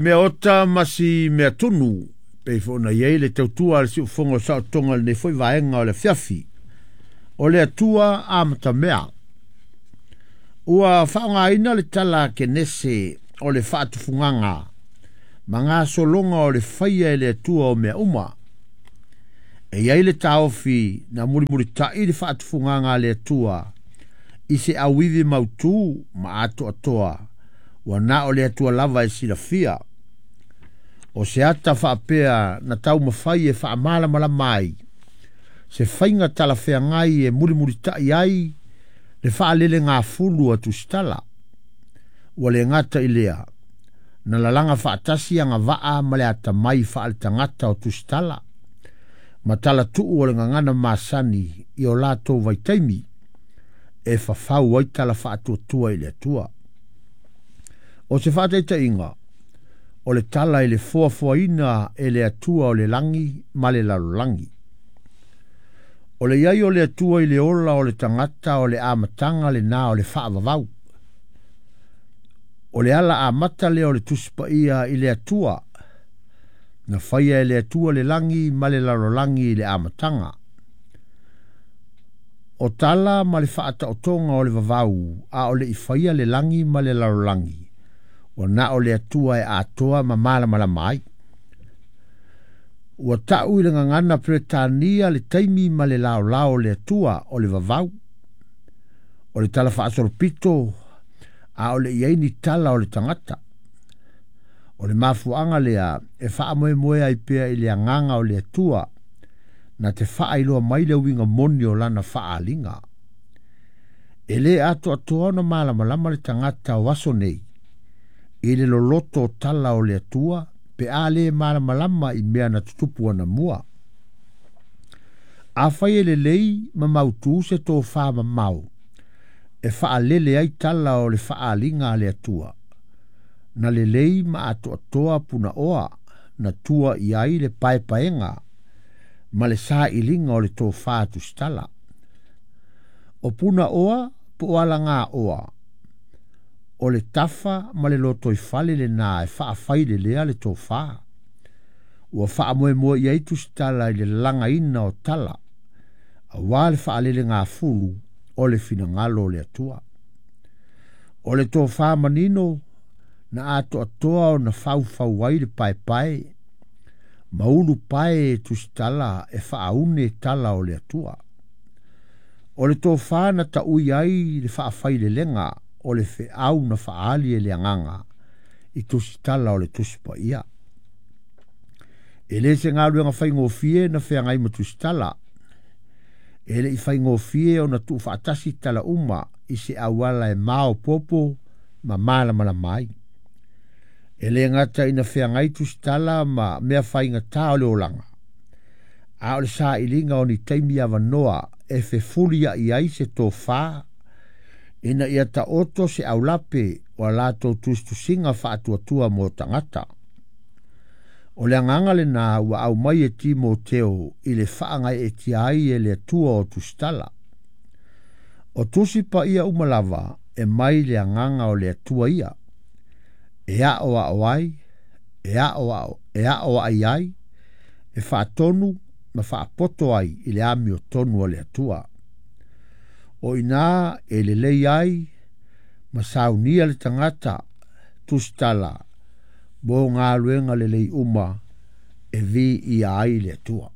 Mea ota ma si mea tunu, pei foi ona i ai le tautua a le siufofoga o saotoga i lenei foi vaega o le afiafi. O le Atua amatamea. Ua faaaogaina le tala a Kenese o le faatufugaga ma gasologa o le faia e le Atua o mea uma. E i ai le taofi na mulimulita'i le faatufugaga a le Atua i se auivi mautū ma atoatoa ua na o le Atua lava e silafia. O se ata faapea na taumafai e faamalamalama ai se faiga talafeagai e mulimulita'i ai le faalelegafulu a Tusitala. Ua le gata i lea, na lalaga faatasi agavaa ma le atamai faaletagata o Tusitala ma talatuu o le gagana masani i o latou vaitaimi e fafau ai tala faatuatua i le Atua. O se faataitaiga, o le tala i le foafoaina e le Atua o le lagi ma le lalolagi. O le i ai o le Atua i le ola o le tagata o le amataga lena o le faavavau. O le ala amata lea o le Tusi Paia i le Atua, na faia e le Atua le lagi ma le lalolagi i le amataga. O tala ma le faataotoga o le vavau a o le i faia le lagi ma le lalolagi, ua na o le Atua e atoa ma malamalama ai. Ua ta'u i le gagana Peretania le taimi ma le laolao o le Atua o le vavau. O le tala faasolopito a o le i ai ni tala o le tagata. O le mafuaaga lea e faamoemoe ai pea i le agaga o le Atua na te faailoa mai le uiga moni o lana faaaliga. E lē atoatoa ona malamalama le tagata o aso nei i le loloto o tala o le Atua pe a lē malamalama i mea na tutupu anamua. Afai e lelei ma mautū se tofā mamao e faalele ai tala o le faaaliga a le Atua, na lelei ma atoatoa punaoa na tua i ai le paepaega ma le sailiga o le tofā tusitala. O punaoa po o alagaoa, o le tafa ma le lotoifale lenā e faafailelea le tofā. Ua faamoemoe i ai tusitala i le lalagaina o tala, auā le faalelegafulu o le finagalo o le Atua. O le tofā manino na atoatoa ona faufau ai le paepae ma ulu pae e tusitala e faaune tala o le Atua. O le tofā na taui ai le faafailelega o le feau na faaali e le agaga i tusitala o le Tusi Paia. E le se galuega faigofie na feagai ma tusitala. E le i faigofie ona tuufaatasi tala uma i se auala e maopoopo ma malamalama ai. E le gata ina feagai tusitala ma mea faigatā o le olaga, a o le sailiga o ni taimi avanoa e fefulia'i ai se tofā ina ia taoto se aulape o a latou tusitusiga faatuatua mo tagata. O le agaga lenā ua aumai e Timoteo i le faagaeetia ai e le Atua o tusitala. O tusi paia uma lava e mai le agaga o le Atua ia, e aoao ai, e aoao, e aoai ai, e faatonu ma faapoto ai i le amiotonu a le Atua. O i ina e lelei ai ma saunia le tagata tusitala mo galuega lelei uma e viia ai le Atua.